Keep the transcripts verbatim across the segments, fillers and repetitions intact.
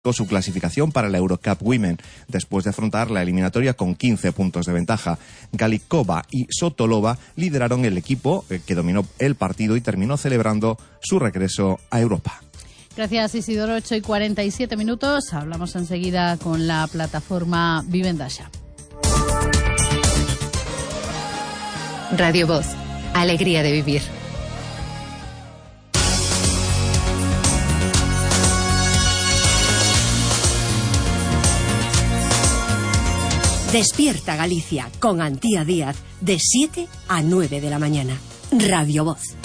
con su clasificación para la Eurocup Women, después de afrontar la eliminatoria con quince puntos de ventaja. Galikova y Sotolova lideraron el equipo que dominó el partido y terminó celebrando su regreso a Europa. Gracias, Isidoro. ocho y cuarenta y siete minutos. Hablamos enseguida con la plataforma Vivenda Xa. Radio Voz. Alegría de vivir. Despierta Galicia con Antía Díaz de siete a nueve de la mañana. Radio Voz.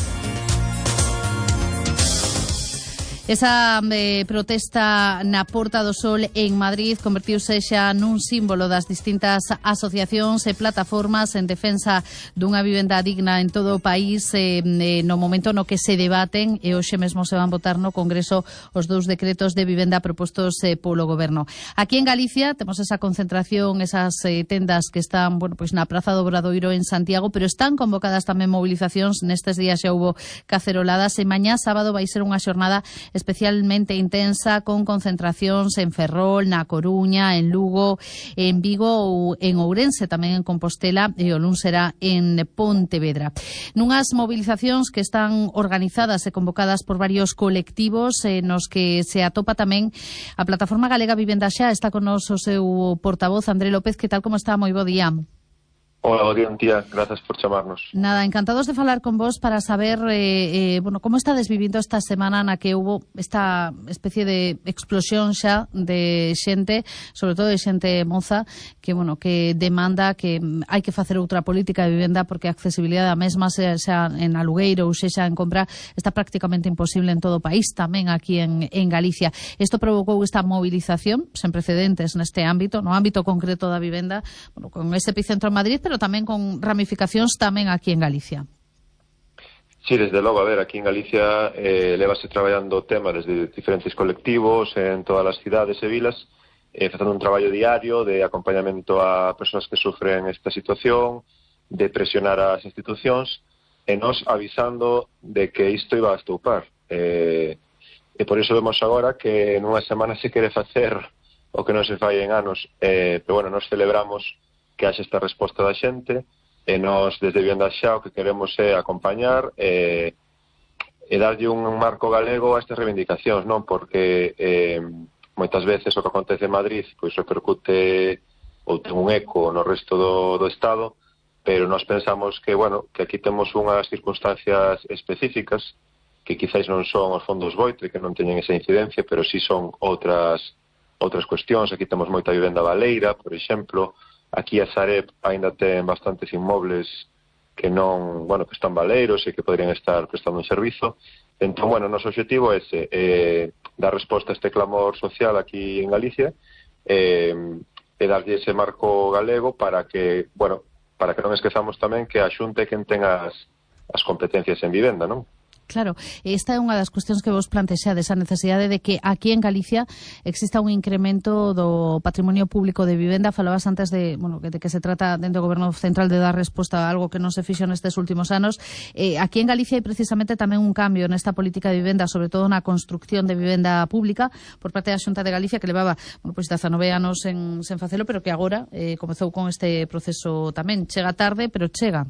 Esa eh, protesta na Porta do Sol en Madrid convertiuse xa nun símbolo das distintas asociacións e plataformas en defensa dunha vivenda digna en todo o país eh, eh, no momento no que se debaten e hoxe mesmo se van votar no Congreso os dous decretos de vivenda propostos eh, polo Goberno. Aquí en Galicia temos esa concentración, esas eh, tendas que están, bueno, pois na Praza do Obradoiro en Santiago, pero están convocadas tamén movilizacións. Nestes días xa hubo caceroladas e mañá sábado vai ser unha xornada especialmente intensa con concentracións en Ferrol, na Coruña, en Lugo, en Vigo ou en Ourense, tamén en Compostela e o luns será en Pontevedra. Nunhas movilizacións que están organizadas e convocadas por varios colectivos eh, nos que se atopa tamén a Plataforma Galega Vivenda Xa. Está con nos o seu portavoz, André López. Que tal, como está? Moi bo día. Hola, bo día, tía. Gracias por chamarnos. Nada, encantados de falar con vos para saber eh, eh, bueno, como está desvivindo esta semana na que hubo esta especie de explosión xa de xente, sobre todo de xente moza, que bueno, que demanda que hai que facer outra política de vivenda porque a accesibilidade a mesma, xa, xa en alugueiro ou xa en compra, está prácticamente imposible en todo o país, tamén aquí en, en Galicia. Isto provocou esta movilización sen precedentes neste ámbito, no ámbito concreto da vivenda, bueno, con ese epicentro en Madrid, pero tamén con ramificacións tamén aquí en Galicia. Sí, desde logo, a ver, aquí en Galicia eh, levase traballando o tema desde diferentes colectivos en todas as cidades e vilas, eh, facendo un traballo diario de acompañamento a persoas que sufren esta situación, de presionar as institucións, e nos avisando de que isto iba a estoupar. Eh, e por iso vemos agora que nunha semana se quere facer o que non se fai en anos, eh, pero bueno, nos celebramos que haxe esta resposta da xente, e nós desde Vivenda Xa o que queremos é acompañar e, e darlle un marco galego a estas reivindicacións, non? Porque eh, moitas veces o que acontece en Madrid pois repercute ou ten un eco no resto do, do Estado, pero nós pensamos que, bueno, que aquí temos unhas circunstancias específicas que quizáis non son os fondos Boitre, que non teñen esa incidencia, pero sí son outras outras cuestións. Aquí temos moita vivenda baleira, por exemplo. Aquí a Sareb ainda ten bastantes inmobles que non, bueno, que están baleiros e que podrían estar prestando un servizo. Entón, bueno, o noso objetivo é ese, eh, dar resposta a este clamor social aquí en Galicia eh, e darlle ese marco galego para que, bueno, para que non esquezamos tamén que a Xunta é quen ten as, as competencias en vivenda, non? Claro, esta é unha das cuestións que vos plantexades, a necesidade de que aquí en Galicia exista un incremento do patrimonio público de vivenda. Falabas antes de, bueno, de que se trata dentro do Goberno Central de dar resposta a algo que non se fixo nestes últimos anos. Eh, aquí en Galicia hai precisamente tamén un cambio nesta política de vivenda, sobre todo na construcción de vivenda pública por parte da Xunta de Galicia, que levaba, bueno, pois dezanove anos en, sen facelo, pero que agora eh, comezou con este proceso tamén. Chega tarde, pero chega.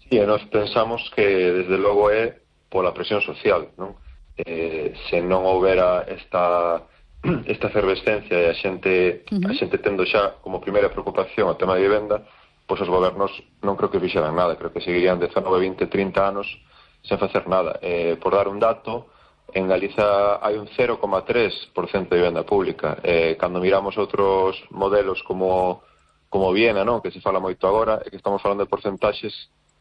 Sí, e nós pensamos que desde logo é pola presión social, non? Eh, se non houbera esta esta efervescencia e a xente uh-huh. a xente tendo xa como primeira preocupación o tema de vivenda, pois os gobernos non creo que fixeran nada, creo que seguirían dezanove, vinte, trinta anos sen facer nada. Eh, por dar un dato, en Galiza hai un cero coma tres por cento de vivenda pública. Eh, cando miramos outros modelos como como Viena, non? Que se fala moito agora, e que estamos falando de porcentaxes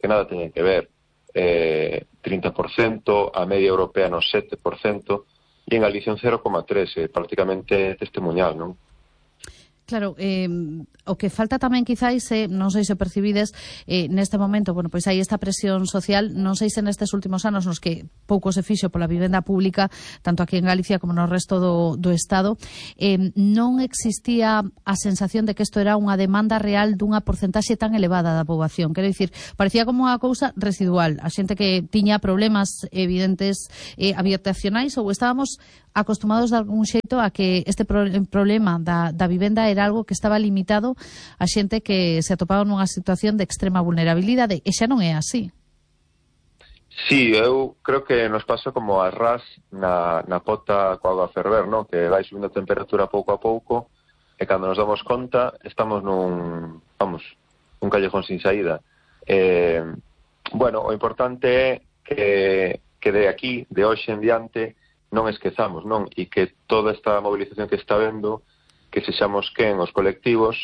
que nada teñen que ver, eh, trinta por cento, a media europea no sete por cento, e en Galicia un cero coma tres, eh, prácticamente testemunhal, non? Claro, eh, o que falta tamén quizáis, eh, non sei se percibides eh, neste momento, bueno, pois hai esta presión social, non sei se nestes últimos anos nos que pouco se fixo pola vivenda pública, tanto aquí en Galicia como no resto do, do Estado, eh, non existía a sensación de que isto era unha demanda real dunha porcentaxe tan elevada da poboación. Quero dicir, parecía como unha cousa residual, a xente que tiña problemas evidentes eh, habitacionais, ou estábamos acostumados de algún xeito a que este pro problema da, da vivenda era algo que estaba limitado a xente que se atopaba nunha situación de extrema vulnerabilidade, e xa non é así. Sí, eu creo que nos pasa como a ras na, na pota coa auga a ferver, non? Que vai subindo a temperatura pouco a pouco e cando nos damos conta estamos nun, vamos, un callejón sin saída. Eh, bueno, o importante é que, que de aquí, de hoxe en diante, non esquezamos, non? E que toda esta movilización que está vendo, que sexamos quen os colectivos,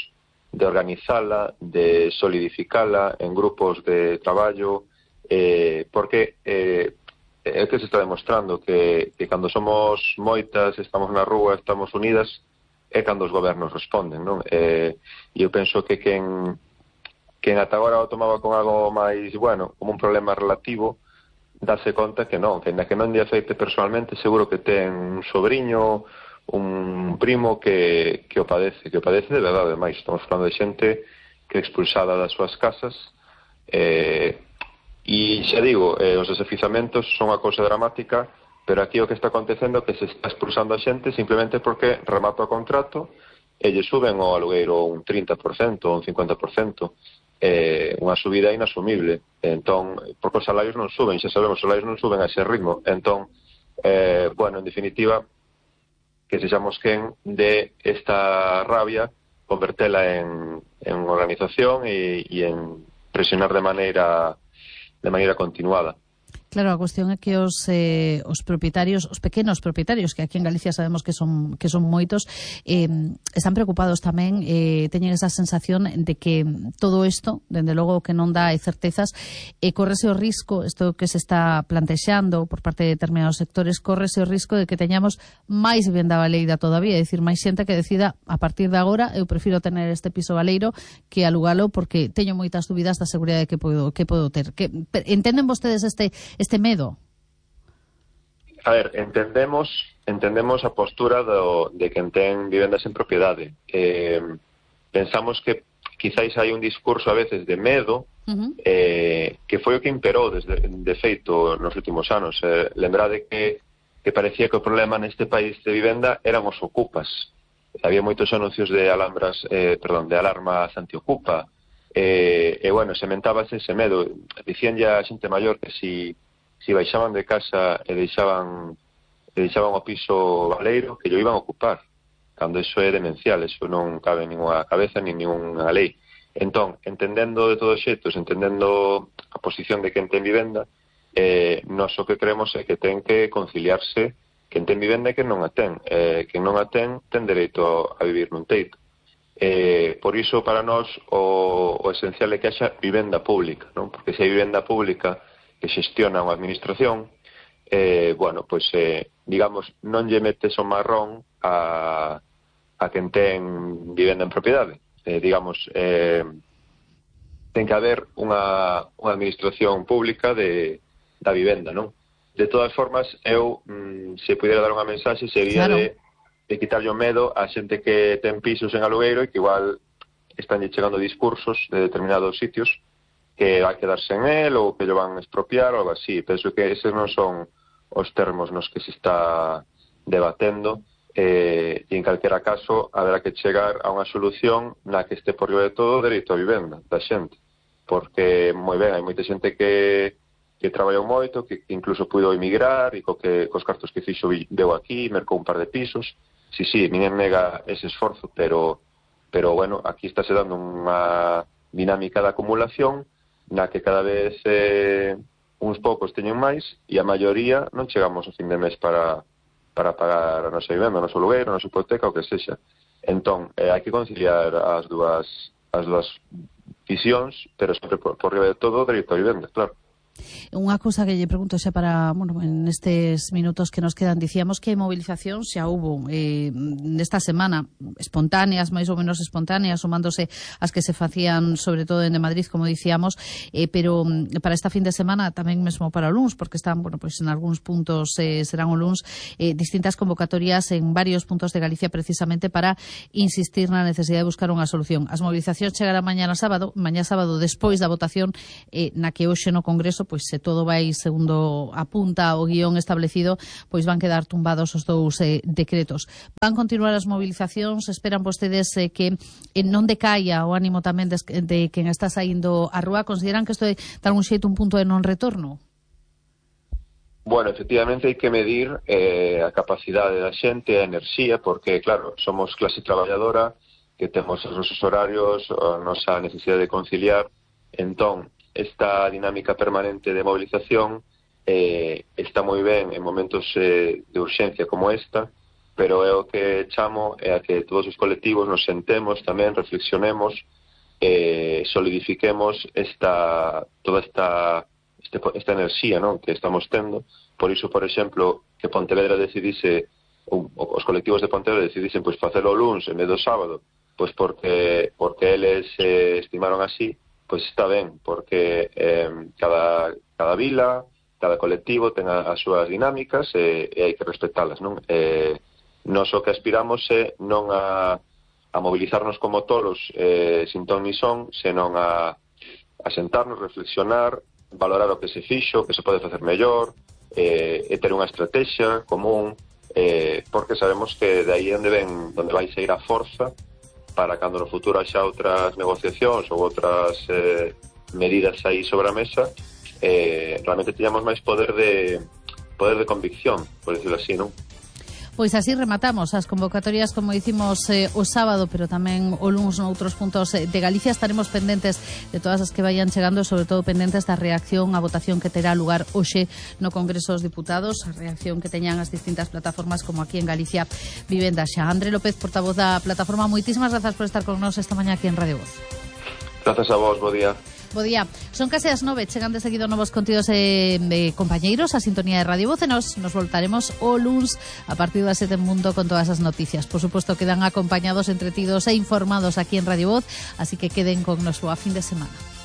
de organizala, de solidificala en grupos de traballo, eh, porque eh, é que se está demostrando que, que cando somos moitas, estamos na rúa, estamos unidas, é cando os gobernos responden, non? Eh, e eu penso que quen, quen ata agora o tomaba con algo máis, bueno, como un problema relativo, darse conta que non, que na que non lle afecte personalmente, seguro que ten un sobrinho, un primo que, que o padece, que o padece de verdade, máis. Estamos falando de xente que é expulsada das súas casas, eh, e xa digo, eh, os desafizamentos son unha cousa dramática, pero aquí o que está acontecendo é que se está expulsando a xente simplemente porque remata o contrato e lle suben o alugueiro un trinta por cento ou un cincuenta por cento. Eh, unha subida inasumible, entón, porque os salarios non suben, xa sabemos, os salarios non suben a ese ritmo, entón, eh, bueno, en definitiva, que sexamos quen de esta rabia, convertela en, en organización e, e en presionar de maneira de maneira continuada. Claro, a cuestión é que os, eh, os propietarios, os pequenos propietarios, que aquí en Galicia sabemos que son que son moitos, eh, están preocupados tamén, eh, teñen esa sensación de que todo isto, dende logo que non dá certezas, e eh, correse o risco, isto que se está plantexando por parte de determinados sectores, correse o risco de que teñamos máis vivenda baleira todavía, é dicir, máis xente que decida, a partir de agora, eu prefiro tener este piso baleiro que alugalo porque teño moitas dúbidas da seguridade que podo, que podo ter. Que, entenden vostedes este este medo? A ver, entendemos entendemos a postura do, de quen ten vivendas en propiedade. Eh, pensamos que quizáis hai un discurso a veces de medo, uh-huh. eh, que foi o que imperou desde, de feito nos últimos anos. Eh, lembrade que, que parecía que o problema neste país de vivenda eran os ocupas. Había moitos anuncios de alambras, eh, perdón, de alarmas antiocupa. E, eh, eh, bueno, sementábase ese medo. Dicían ya a xente maior que si si baixaban de casa e deixaban e deixaban o piso baleiro, que lo iban a ocupar, cando iso é demencial, iso non cabe en ninguna cabeza ni ninguna lei. Entón, entendendo de todos xeitos, entendendo a posición de quen ten vivenda, eh, nos o que creemos é que ten que conciliarse quen ten vivenda e quen non a ten. Eh, quen non a ten, ten dereito a vivir nun teito. Eh, por iso, para nós, o, o esencial é que haxa vivenda pública, non? Porque se hai vivenda pública que xestiona unha administración, eh, bueno, pois, eh, digamos, non lle metes o marrón a, a quen ten vivenda en propiedade. Eh, digamos, eh, ten que haber unha, unha administración pública de, da vivenda, non? De todas formas, eu, mm, se pudiera dar unha mensaxe, sería claro. de, de quitarlle o medo a xente que ten pisos en alugueiro e que igual están chegando discursos de determinados sitios que vai quedarse en él ou que lo van a expropiar ou algo así. Penso que eses non son os termos nos que se está debatendo, eh, e en calquera caso haberá que chegar a unha solución na que este por riba de todo o dereito a vivenda da xente, porque moi ben, hai moita xente que, que traballou moito, que, que incluso puido emigrar e co que, cos cartos que fixo veu aquí, mercou un par de pisos. Sí, sí, ninguén nega ese esforzo, pero, pero bueno, aquí está se dando unha dinámica de acumulación na que cada vez eh, uns poucos teñen máis e a maioría non chegamos ao fin de mes para, para pagar a nosa vivenda, o noso alugueiro, a nosa hipoteca, o que sexa. Entón, eh, hai que conciliar as dúas, as dúas visións, pero sempre por, por riba de todo o dereito a vivenda, claro. Unha cousa que lle pregunto xa para, bueno, en estes minutos que nos quedan, dicíamos que movilización xa hubo eh, nesta semana, espontáneas, máis ou menos espontáneas, sumándose as que se facían sobre todo en de Madrid, como dicíamos, eh, pero para esta fin de semana tamén mesmo para o luns, porque están, bueno, pois en algúns puntos eh, serán o luns, eh, distintas convocatorias en varios puntos de Galicia precisamente para insistir na necesidade de buscar unha solución. As movilizacións chegarán mañana sábado, mañá sábado despois da votación eh, na que hoxe no Congreso pois se todo vai segundo apunta o guión establecido, pois van quedar tumbados os dous eh, decretos. Van continuar as movilizacións, esperan vostedes eh, que eh, non decaia o ánimo tamén de, de quen está saindo á rúa. Consideran que isto é, de algún xeito, un punto de non retorno? Bueno, efectivamente hai que medir eh, a capacidade da xente, a enerxía, porque, claro, somos clase traballadora, que temos os nosos horarios, a nosa necesidade de conciliar. Entón, esta dinámica permanente de movilización eh, está moi ben en momentos eh, de urxencia como esta, pero é o que chamo é a que todos os colectivos nos sentemos tamén, reflexionemos, eh, solidifiquemos esta toda esta Este, esta enerxía, non, que estamos tendo. Por iso, por exemplo, que Pontevedra decidise, ou, os colectivos de Pontevedra decidisen pois facelo o luns en vez do sábado, pois porque porque eles eh, estimaron así, pois está ben, porque eh, cada, cada vila, cada colectivo ten a, as súas dinámicas e, e hai que respetalas, non? Eh, nos o que aspiramos é non a, a movilizarnos como tolos eh, sin ton ni son, senón a, a sentarnos, reflexionar, valorar o que se fixo, o que se pode facer mellor, eh, e ter unha estrategia común, eh, porque sabemos que de aí onde ven, onde vai sair a forza para cando no futuro haxa outras negociacións ou outras eh, medidas aí sobre a mesa, eh, realmente teñamos máis poder de poder de convicción, por decirlo así, non? Pois así rematamos as convocatorias, como dicimos eh, o sábado, pero tamén o luns noutros puntos de Galicia. Estaremos pendentes de todas as que vayan chegando, sobre todo pendentes da reacción á votación que terá lugar hoxe no Congreso dos Diputados, a reacción que teñan as distintas plataformas, como aquí en Galicia Vivenda Xa. André López, portavoz da plataforma, moitísimas grazas por estar con nós esta mañá aquí en Radio Voz. Grazas a vos, bo día. Bo día. Son case as nove, chegan de seguido novos contidos eh, de compañeiros a sintonía de Radio Voz e nos, nos voltaremos o luns a partir das sete en mundo con todas as noticias. Por suposto, quedan acompañados, entretidos e informados aquí en Radio Voz, así que queden con nos boa fin de semana.